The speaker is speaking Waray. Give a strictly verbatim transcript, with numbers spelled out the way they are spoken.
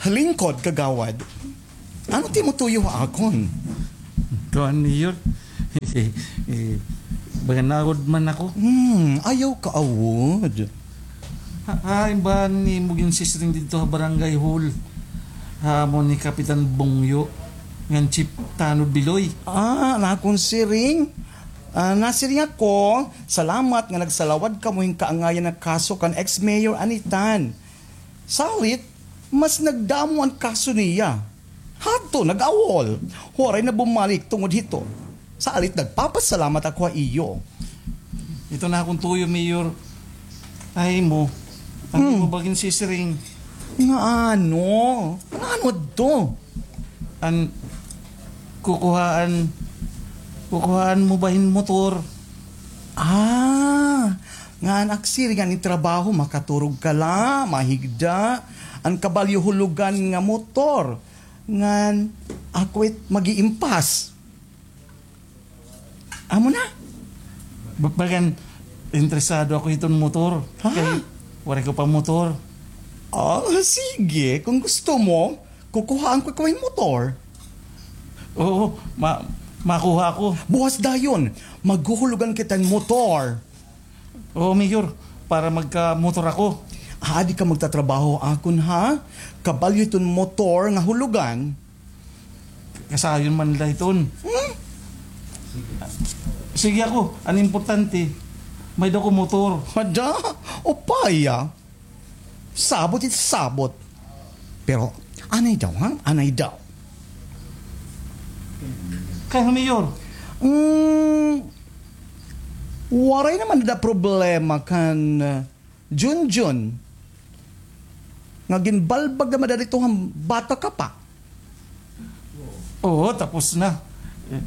Lingkod, kagawad. Ano it imo tuyo ha akon? Kuan, Mayor. Eh, eh, baga naawod man ako. Hmm, ayaw kaawod. Ha, hain ba an imo ginsisiring didto ha barangay hall? Ha amo ni Kapitan Bongyo, ngan Chief Tanod Biloy. Ah, an akon siring? Ah, nasiring ako, salamat nga nagsalawad kamo hin kaangayan nga kaso kan ex-mayor Anitan. Salit, mas nagdamo an kaso niya. Hadto, nag-awol. Waray na bumalik tungod hito. Salit, nagpapasalamat ako ha iyo. Ito na akon tuyo, Mayor. Ay mo. Ano Hmm. mo ba ginsisiring? Nga ano? Nga ano to? An kukuhaan, kukuhaan mo ba hin motor? Ah, nga an ak siring nga an trabaho, makaturog ka la, mahigda, an kabalyo hulugan nga motor, ngan ako it mag-iimpas. Amo na. Ba-, bagan, interesado ako hiton motor. Ha? Kay, waray ko pa motor. Ah, sige, kung gusto mo, kukuhaan ko ikaw hin motor. Oo, ma-, makuha ko. Buwas dayon, maghuhulugan kita hin motor. Oo, Mayor, para magka-motor ako. Adi ka magtatrabaho akon, ha? Kabalyo hiton motor nga hulugan. Kasayon man la hiton. Hmm? Sige ako, an importante, may-ada ko motor. Ada? Upaya. Sabot it sabot. Pero, anay daw, ha? Anay daw. Kay, Mayor. Mm, waray naman da problema kan, uh, Junjun. Nga ginbalbag naman da dito nga bata ka pa. Oo, tapos na. Eh,